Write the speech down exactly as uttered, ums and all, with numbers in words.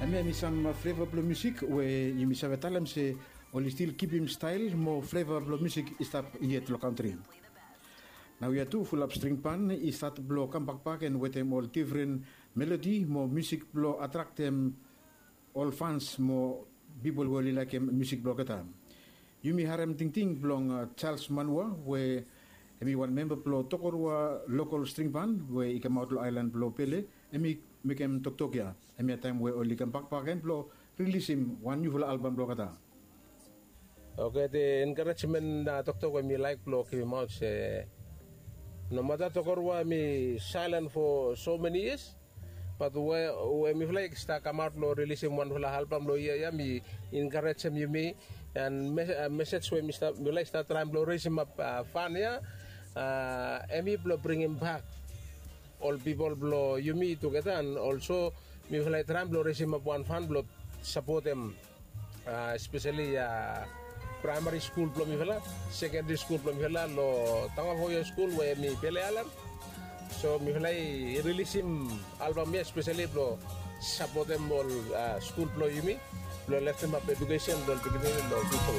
Hemia hemi sam fleva blong musik we yumi save talem se oli stil kipim stael mo fleva blong musik i stap yet long kantri. Naoia tu fulap string ban i stat blong kambakbak en wetem ol defren melodi mo musik blong atraktem ol fans mo pipol we oli laekem musik blong olgeta. Yumi harem tingting blong Charles Manua we hemi wan memba blong Tokorua lokol string ban we i kamaot long aelan blong Pele. Hemi mekem toktok ya hemia taem we oli kambakbak gen blong rilisim wan niufala albam blong olgeta. Oke, the encouragement toktok we mi laek blong givimaot se nomata Tokorua hemi silent for so many years, bat we mifala i stap kamaot blong rilisim wanfala albam long yia ya mi encouragem yumi. And mesej we mifala i stap traem blong resimap fan ya, hemi blong bringim bak ol pipol blong yumi tugeta, and olso mifala i traem blong resimap wan fan blong sapotem espeseli praemari skul blong mifala, sekendari skul blong mifala long Tangafo High School we hemi Pele Aelan. So mifala i rilisim albam ya espeseli blong sapotem ol skul blong yumi blong leftemap edukesen blong ol pikinini long fiuja.